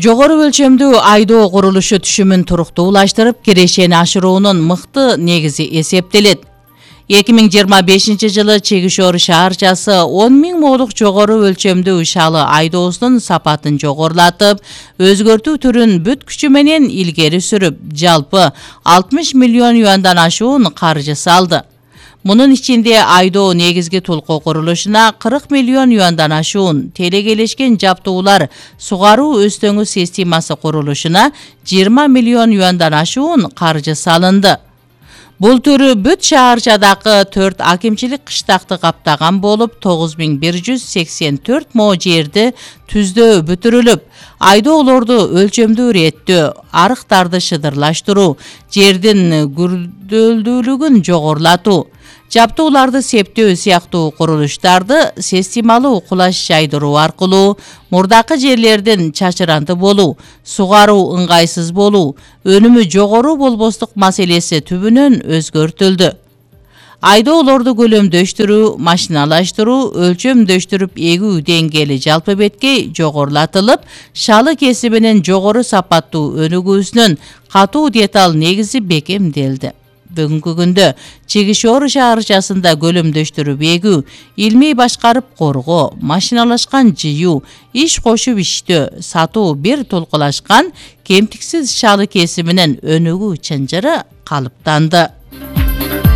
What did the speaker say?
Жогору өлчөмдүү айдоо курулушу түшүмүн туруктуулаштырып, кирешени ашыруунун мыкты негизи эсептелет. 2025 жылы Чегишор шаарчасы 10 000 молук жогору өлчөмдүү шалы айдоосунун сапатын жогорулатып, өзгөртүү түрүн бүт күчү менен илгери сүрүп, жалпы 60 миллион юандан ашуун каржы салды. Мунун ичинде айдоо негизги толкоо курулушуна 40 миллион юандан ашуун, телегелешкен жаптуулар сугаруу өстөңү системасы курулушуна 20 миллион юандан ашуун каржы салынды. Бул түрү бүт шаарчадагы 4 акимчилик кыштакты каптаган болуп, 9184 мо жерди түздөө бүтүрүлүп, айдоолорду өлчөмдүү реттөө, арыктарды шыдырлаштыруу, жердин күрдөлдүүлүгүн жогорулатуу, жаптууларды септөө сыяктуу курулуштарды системалуу кулаш жайдыруу аркылуу мурдакы жерлердин чачыранты болуу, сугаруу ыңгайсыз болуу, өнүмү жогору болбостук маселеси түбүнөн өзгөртүлдү. Айдоолорду көлөмдөштүрүү, машиналаштыруу, өлчөмдөштүрүп эгүү деңгээли жалпы беткей жогорулатылып, шалы кесибинин жогору сапаттуу өнүгүүсүнүн катуу деталь негизи бекемделди. Бүгүнкү күндө Чегишор шаарчасында көлөмдөштүрүп эгүү, илмий башкарып коргоо, машиналашкан жыюу, иш кошуп иштөө, сатуу бир толкулашкан кемтиксиз шалы кесибинин өнүгүү чынжыры калыптанды.